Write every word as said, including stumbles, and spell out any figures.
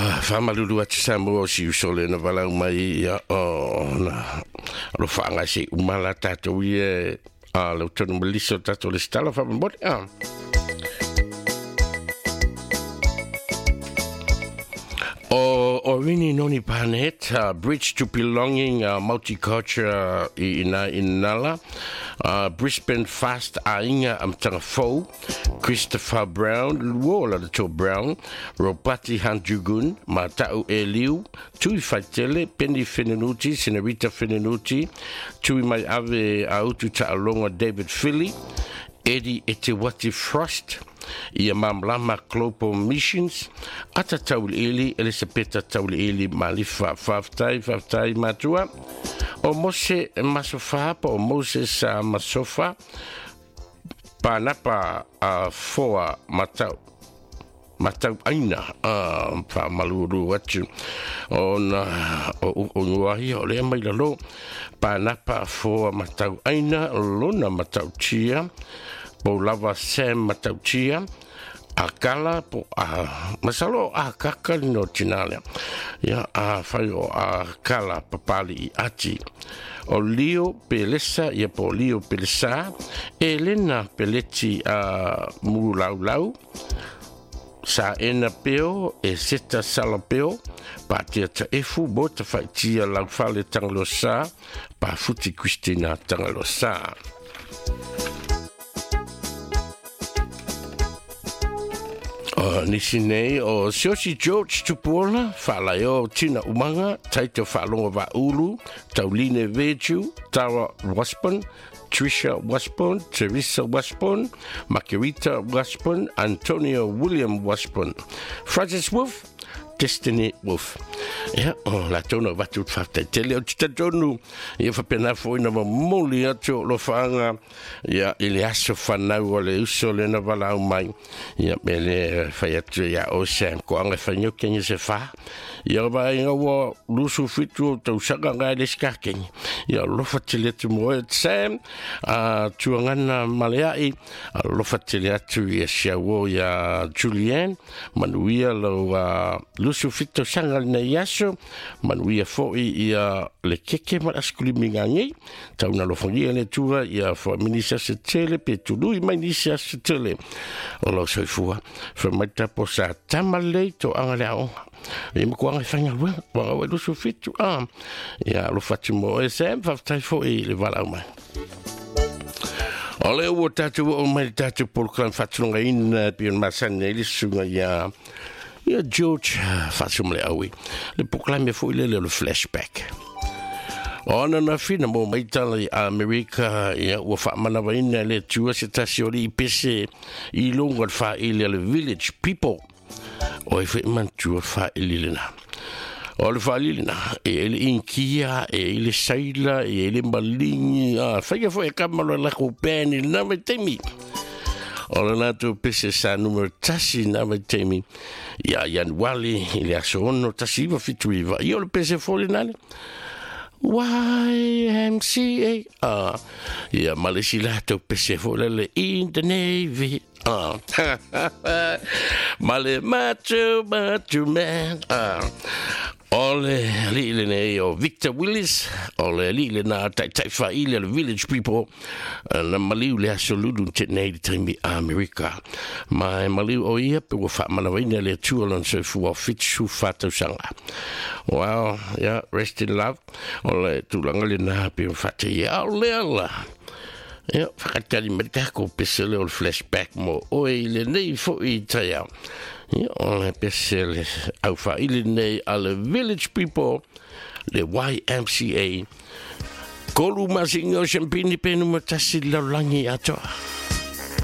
Whamalulu atu Samoa o si usole na walau mai ia o na alo whaanga se umala tātou ia a lau tonu melisa o tātou le stala whamamori a. O Orini Noni Panet, uh, Bridge to Belonging, uh, Multicultural i ina inala, uh, Brisbane Fast Ainga Amtanga Fou, Christopher Brown, Luola the To Brown, Robati Hanjugun, Matau Eliu, Tui Faitele, Penny Fenenuti, Senorita Fenenuti, Tui Mai Ave Autu Ta'alonga David Philly, Eddie Etewati Frost, ia Mamlama Global Missions, Ata Tauliili, Elisabetta Tauliili Malifa, Whaftai, Whaftai Matua, o Mose Masofa, o Moses uh, Masofa, Panapa uh, Foa Matau, Matau Aina, uh, whamaluru atu, o na, o, o nguahi, o lea mai lalo, Panapa Foa Matau Aina, Lona Matau Tia, po lava Sam Matautia, a kala po a masalo a kaka no tinalea. Ia a whai o a kala papali i ati. O Leo Pelesa, ia po Leo Pelesa, Elena Peleti a Mulaulau, Sa ena peo, e seta sala peo, pa tia ta efu, bo ta whaitia laufale tangalosa, pa futi Christina tangalosa. O nisi nei o Siosi George Tupuola, Whaalaio Tina Umanga, Taito Whaalonga Vaulu, Tauline Veju, Tara Wasbon, Trisha Wasbon, Teresa Wasbon, Margarita Wasbon, Antonio William Wasbon, Francis Wolf, Destiny Wolf. Ia, o la tonu watu whaftai tele o tita tonu. Ia whapena foina ma moli atu o lo whaanga. Ia, i le aso whanau o le uso le na walau mai. Ia, me le whai atu ia o Sam ko anga whanyo kenye se wha. Ia wa inga wa lusu fitu o tausaka ngai le skakenye. Ia, lofa tele atu moe Sam, a tuangana maleai, a lofa tele atu ia siawo ia Julien, manuia lau uh, lusu fitu sanga le nei aso, manuia foi ia le keke ma askuli mingangi, tauna lofangia le tua ia fo minisa se tele pe tului mai nisi se tele. O lau soifua, fa mai tapo sa tamalei to anga le aonga. Ia ma kuanga i whainga lua, wanga ue lusu fitu, ah. Ia lo fatu mo S M, whaftai foi le walau mai. O le ua tātou o mai tātou polokalame whatulonga ina, pion masani e lisunga ia ia George Fatumle aui. Le polokalame foi le le flashback. O na na fina mo mai tala i Amerika, ia ua whaamanawa ina le tua se tasi o li i pese i longa le whaili le village people. O e whae mantua whaili le na. O le whaili le na, e ele inkia, e ele saila, e ele malingi, a whaia fo e kamalo lako pēni na mai teimi. O le nātou pese sa numero tasi na mai teimi. Ia Januali, i le aso ono tasi iwa fitu iwa. I o le pese fole nale. Y M C A. Ah, ia malesi lātou pese fole le in the Navy. Ah. Male macho, macho man. Ah. O le lile nei o Victor Willis, o le lile nā taitai whaile le village people, na maliu le aso lulu te nei le taimi Amerika. Mai maliu o ia pe ua whaamanawaina le atua lon soifua o whitu whatausanga. Wow, yeah, rest in love. O le tūlanga le nā pe whate ia o le ala. Ia, whakatari mai tākou pese le o le flashback mo oe i le nei fo i tai au. Ia, o le pese le au whaili nei a le village people, le Y M C A. Kolu masinga o Champini penu matasi laulangi atoa.